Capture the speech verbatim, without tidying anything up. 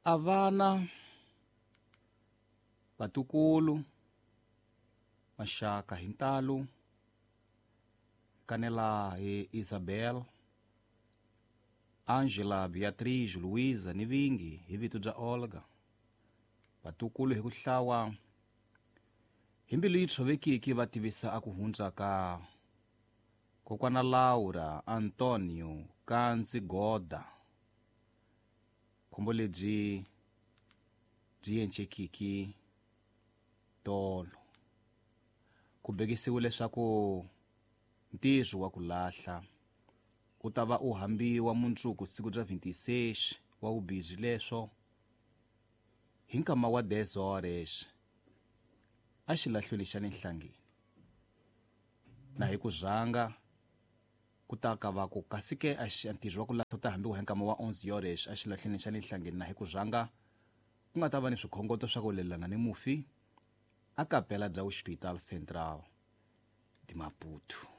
A vana, vatukulu, maxaka hi ntalo, kanela hi Isabel, Angela, Beatriz, Luisa ni vingi hi vito bya Olga. Vatukulu hi ku hlawa hi mbilu yi tshovekiki va tivisa a ku hundza ka kokwana Laura Antonio Kanzi Goda. Khombo lebyi byi encekiki tolo. Ku bekisiwe leswaku ntirho wa ku lahla u ta va u hambiwa mundzuku siku bya twenty-six wa vubirhi leswo hi nkama wa dez horas a xilahlweni xa le Nhlangeni. Na hi ku rhanga ku ta ka va ku kasi ke a xi ntirho wa ku lahla u ta hambiwa hi nkama wa onze horas a xilahlweni xa le Nhlangeni, na hi ku rhanga ku nga ta va ni swikhongoto swa ku lelana ni mufi a kapela bya Hospital Central de Maputo.